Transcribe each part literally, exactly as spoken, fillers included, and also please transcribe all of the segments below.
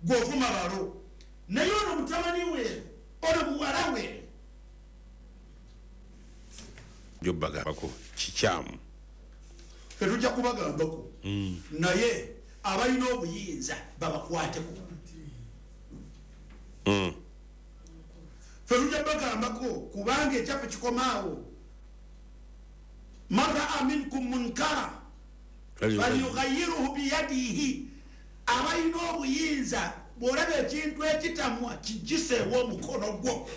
Gwovuma balo. Naye ono mutabani we, ono muwala we. Jobagambako kikyamu. Ffe tujja kubagambako. Naye abalina obuyinza babakwateko. Mm. Ffe tujja bagambako kubanga ekyaffe kikomaawo. Man raa minkum munkara falyughayyirhu biyadihi. Abalina obuyinza bw'olaba ekintu ekitamwa kigiseewo omukono gwo.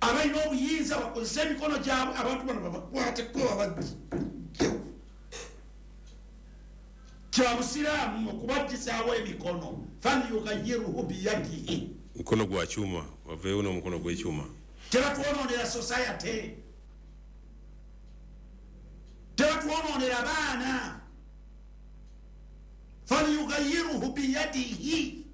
Abalina obuyinza bakozese emikono gyabwe, abantu bano babakwateko babagyewo. Kya busiraamu okubagisaawo emikono. Falyughayyirhu biyadihi. Mukono gwa kyuma, baveewo n'omukono gw'ekyuma. Tebatwonoonera society, tebatwonoonera baana. Falyughayyirhu biyadihi.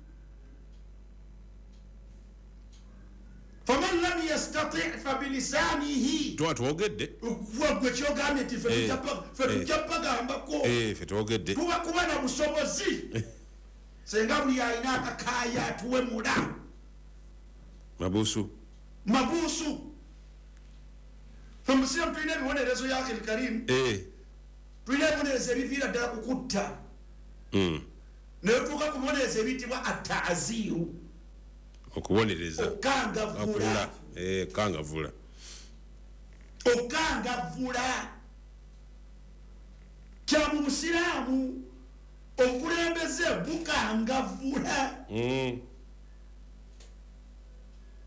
Faman lam yastati' fabilisanihi. Tuba twogedde. Gwe kyogambye nti ffe tujja bagambako. Ffe twogedde. Tuba kuba na busobozi. Senga buli alina akakaaya atuwemula. Mabusu. Mabusu. Ffe musiramu tulina ebibonerezo ya Akhil Karim. Tulina ebibonerezo ebiviira ddala ku kutta. Naye tuuka ku bibonerezo ebiyitibwa ataaziru. Okubonereza. Okangavvula. Eh, kangavvula. Okangavvula. Kya mu busiraamu obukulembeze bukangavvula. Mm.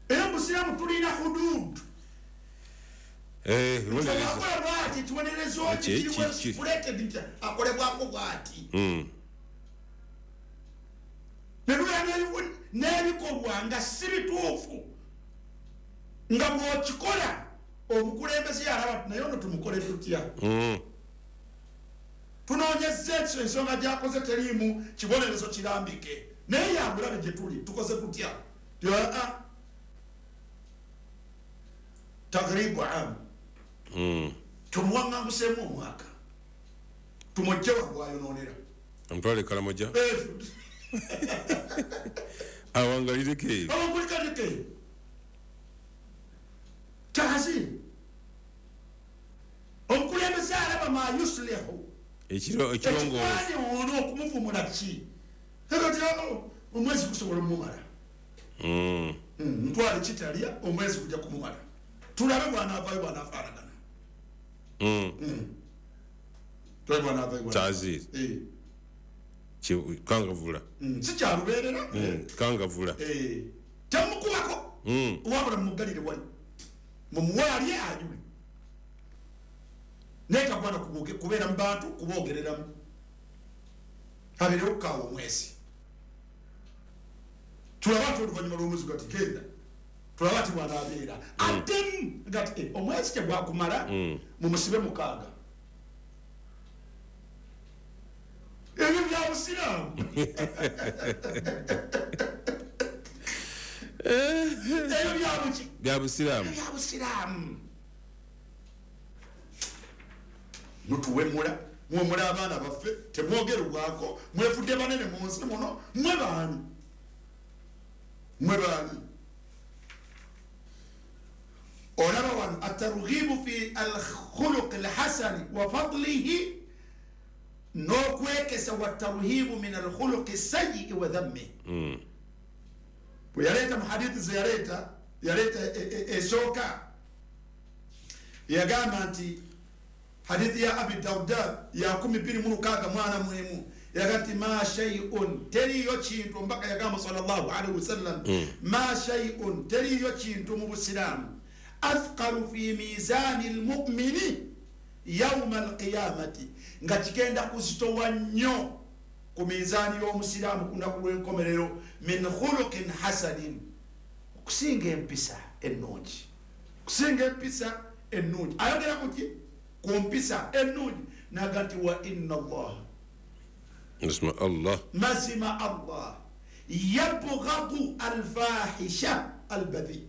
Era mu busiraamu tulina hudud. Eh, bibonerezo. Akola bw'ati, ekibonerezo ki kiri nti akolebwako bw'ati. Mm. Ne tubeera n'ebikolwa nga si bituufu, nga bw'okikola omukulembeze yalaba naye ono tumukole tutya. Tunoonyezza ekyo ensonga gy'akoze teriimu kibonerezo kirambike, naye yabulabe gye tuli tukoze tutya. Aa tagribu amu tumuwaŋŋanguseemu omwaka, tumugye wagwayonoonera. Amutwale Karamoja. Awangalireko eyo. Awangalireko eyo. Taazir. Omukulembeze alaba ma yuslihu. Ekiro ekirongoofu. Ekikwani ono okumuvumula ki? Kati omwezi gusobola omumala. Mm. Ntwale kitalya omwezi gujja kumumala. Tulabe bw'anaavaayo bw'anaafaanagana. Mm. Tulabe bw'anaavaayo bw'anaafaanagana. Taazir. Eh. Kangavvula. Si kyalubeerera. Kangavvula. Temukubako. Wabula mumuggalire wali. Mumuwe alye anywe. Naye tagwana kubeera mu bantu kuboogereramu. Abeerewo kaawa omwezi. Tulabe ati oluvannyuma lw'omwezi gati genda. Tulabe ati bw'anaabeera. Addemu gati omwezi tegwakumala mumusibe mukaaga. Ebyo bya busiraamu. Ebyo bya buki? Bya busiraamu. Bya busiraamu. Mutuwemula, muwemula abaana baffe, temwogerwako, mwefudde banene mu nsi muno, mwe baani? Mwe baani? Olaba wano atarghibu fi alkhuluqi alhasani wa fadlihi, n'okwekesa wa tarhibu min alkhuluqi sayyi wa dhammi. Bwe yaleeta mu hadithi ze yaleeta, yaleeta esooka, yagamba nti hadithi ya Abi Darda ya kumi bbiri mu lukaaga mwana mwemu, yagamba nti ma shay'un, teriiyo kintu, omubaka yagamba sallallahu alaihi wasallam, ma shay'un, teriiyo kintu mu busiraamu athqalu fi mizani almu'mini yawma alqiyamati, nga kigenda kuzitowa nnyo ku minzaani y'omusiraamu ku lunaku lw'enkomerero, min khuluqin hasanin, okusinga empisa ennungi. Okusinga empisa ennungi. Ayogera ku ki? Ku mpisa ennungi. N'agamba nti wa inna Allah, mazima Allah, mazima Allah yabghadu alfahisha albadhi,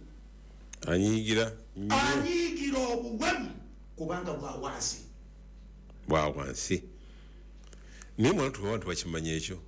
anyiigira anyiigira obuwemu kubanga bwa wansi, bwa wansi. Naye mwana tuba abantu bakimanya ekyo.